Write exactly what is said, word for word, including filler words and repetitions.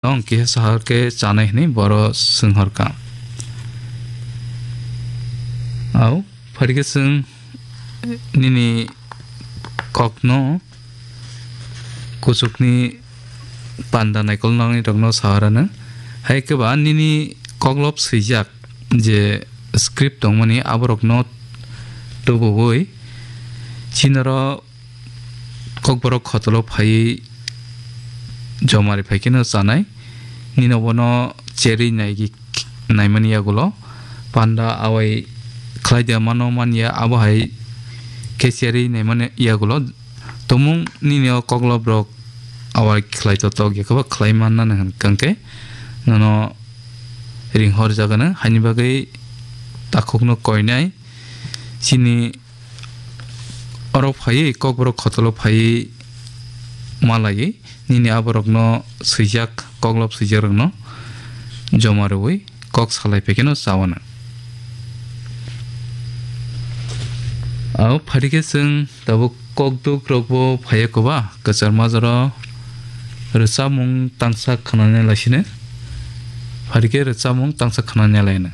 Nong kisa sahar khe chanai hwnwi boro swnghorkha. Au, phaikhe chwng nini kokno kuchukni panda naikol nangnai rokno saharano. Hai khe ba nini koklop swijak je script tongmani aborokno tubuwi chinaro kokborok khotolo phaiwi jomari phaikheno chanai. Nino bono cherwi naigi-, naimani yagulo panda awai khlai de mano manya abo hai khe cherwi naimani yagulo tomung nini o koklobrok awai khlai to tok ya khe ba khlai manna hwn kangkhe nono ring hor jagano haini bagwi takhukno koinai chini oro phaiwi kokborok khotolo phaiwi malaiwi nini aborokno swijak koklop swijakrokno joma rwui kok salai phaikheno chawana. Abo phaikhe chwng tabuk kokduk rokbo phaiya koba kwchar majaro rwchapmung tangsa khnana laisino. Phaikhe rwchapmung tangsa khnana laino.